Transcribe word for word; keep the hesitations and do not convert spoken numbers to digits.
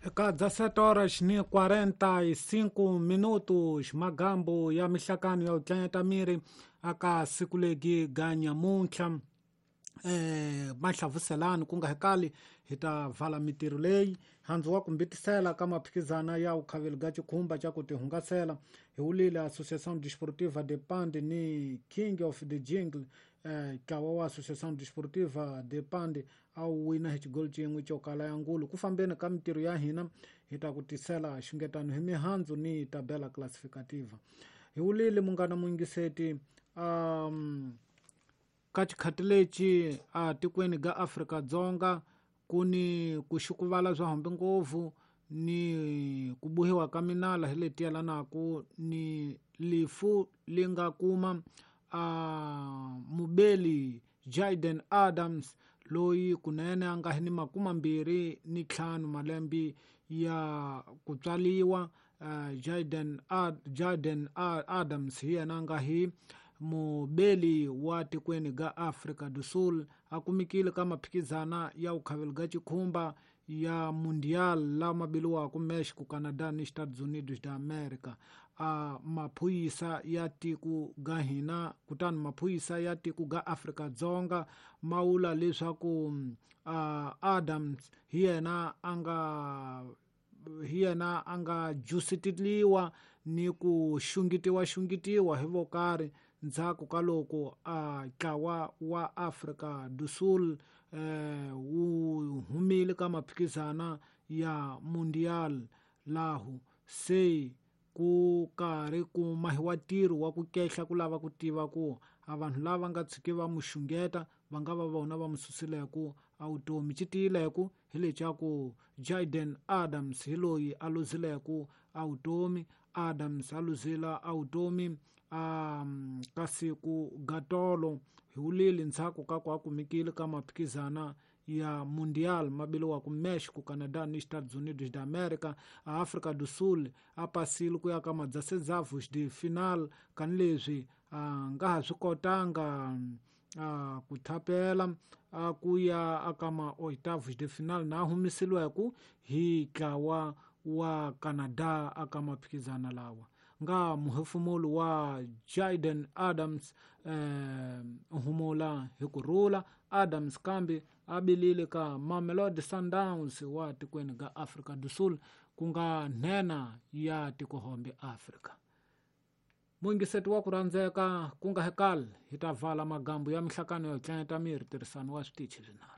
Eka dezessete horas ni quarenta e cinco minutos magambo ya mihlakano ya utlanyata miri aka siku legi ga nyamuntlha eh mahlavuselani ku nga hekali hi ta vala mitirho leyi handzu wa kumbitisela ka maphikizana ya ukhaveli ga chikhumba cha ku tihungasela hi wulile Associação Desportiva de Pande ni King of the Jingle eh ntlawa wa Associação Desportiva de Pande a wu wina hi xigolo xin'we xo kala ya ngulu ku fambeni ka mitirho ya hina hi ta ku tisela xungetano hi mihandzu ni tabela classificativa hi wulile munghana muyingiseti um ka xikhati lexi a tikweni ga Afrika-Dzonga ku ni ku xukuvala swa hambi ngopfu ni ku bohiwa ka minala hi leti yelanaka ni lifu li nga kuma a mubeli Jayden Adams loyi kunene a nga hi ni makumambirhi ni ntlhanu malembe ya ku tswaliwa uh, Jayden Ad, Jayden Adams hi yena a nga hi mubeli wa tikweni ga Afrika do Sul a kumikile ka maphikizana ya ukhaveli ga chikhumba ya Mundial lama biliwaka Mexico, Canada ni Estados Unidos da America. A maphuyisa ya tiko ga hina kutani maphuyisa ya tiko ga Afrika-Dzonga ma vula leswaku uh, Adams hi yena a nga hi yena a nga jusitiliwa ni ku xungitiwa xungitiwa hi vo karhi ndzhaku ka loko a ntlawa wa Afrika do Sul eh, wu humile ka maphikizana ya Mundial lahu se ku karhi ku mahiwa ntirho wa ku kehla ku lava ku tiva ku a vanhu lava nga tshiki va mu xungeta va nga va vona va mu susileku a vutomi xi tiyileku hi lexa Jayden Adams hi loyi a luzileku a vutomi Adams a luzila a vutomi um ka siku gatolo hi wulile ndzhaku ka ku a kumekile ka maphikizana ya Mundial mabiliwaka Mexico, Canada ni Estados Unidos da America. A Afrika do Sul a pasile ku ya ka madzasedzavos de final kanileswi a nga ha swi kotanga a ku thapela a ku ya aka ma oitavos de final na humesiliweku hi ntlawa wa Canada aka maphikizana lawa nga muhefumulu wa Jayden Adams eh, humula hi ku rhula Adams kambe a bilile ka Mamelodi Sundowns wa tikweni ga Afrika do Sul ku nga nhenha ya tikohombe Afrika. Muyingiseti wa ku rhandzeka ku nga hekali hi ta vala magambo ya mihlakano yo tlanyata miri tirhisano wa switichi swinharhu.